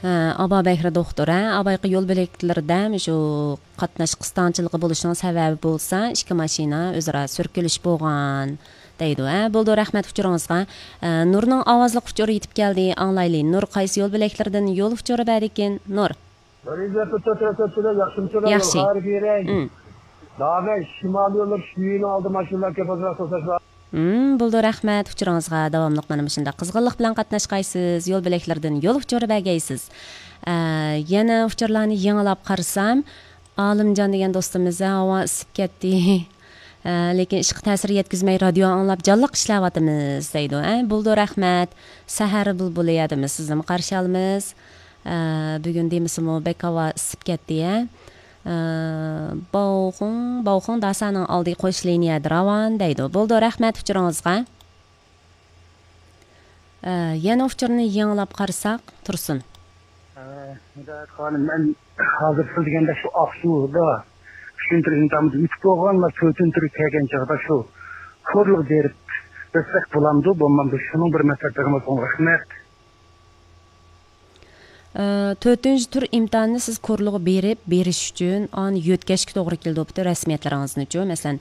Аба Бекир доктор, абайкы жол белектерде ушу катнаш кыстаанчылыгы болушунун себеби болса 2 машина өз ара сөркүлүш болгон дейди. Болду, рахмат учуруңузга. Нурнун авазлык учуру жетип келди. Аңлайлы. Нур кайсы жол белектерден жол учуру бар экен? Нур. Жакшы. Дагы шималый жолдор шүйүнү алды машиналар кеп отурат. Болду, рахмат учуруңузга. Давамлык менен ушундай кызгынлык менен катнашкайсыз, жол белектерден жол учуру байгайсыз. Yana учурларны яңалап карасам, Алымжан деген достумуз аба ысып кетти. Lekin ishqi ta'sir yetkazmay radio anglab jonliq ishlayapmiz deydi. Bo'ldi, rahmat. Sahar bulbul yadimiz, sizni qarshi olamiz. Bugun demisimi Bekova isib ketdi. Bog'un dasaning oldi qo'sh liniyada ravan deydi. Bo'ldi, rahmat uchuringizga. Yana uchurni yanglab qarasak, tursin. Men hozir siz deganda shu Aqsuda tushuntirgan tamız ütüp bo'lganlar ko'tintirib kelgan chog'da shu ko'rlik berib desek bo'lamdi, bo'lmamdi. Shuning bir maslahatimiz bor. Rahmat. 4-tur imtihonni siz ko'rlig'i berish uchun an yo'tkashga to'g'ri keldi bo'pti rasmiyatlaringizni uchun. Masalan,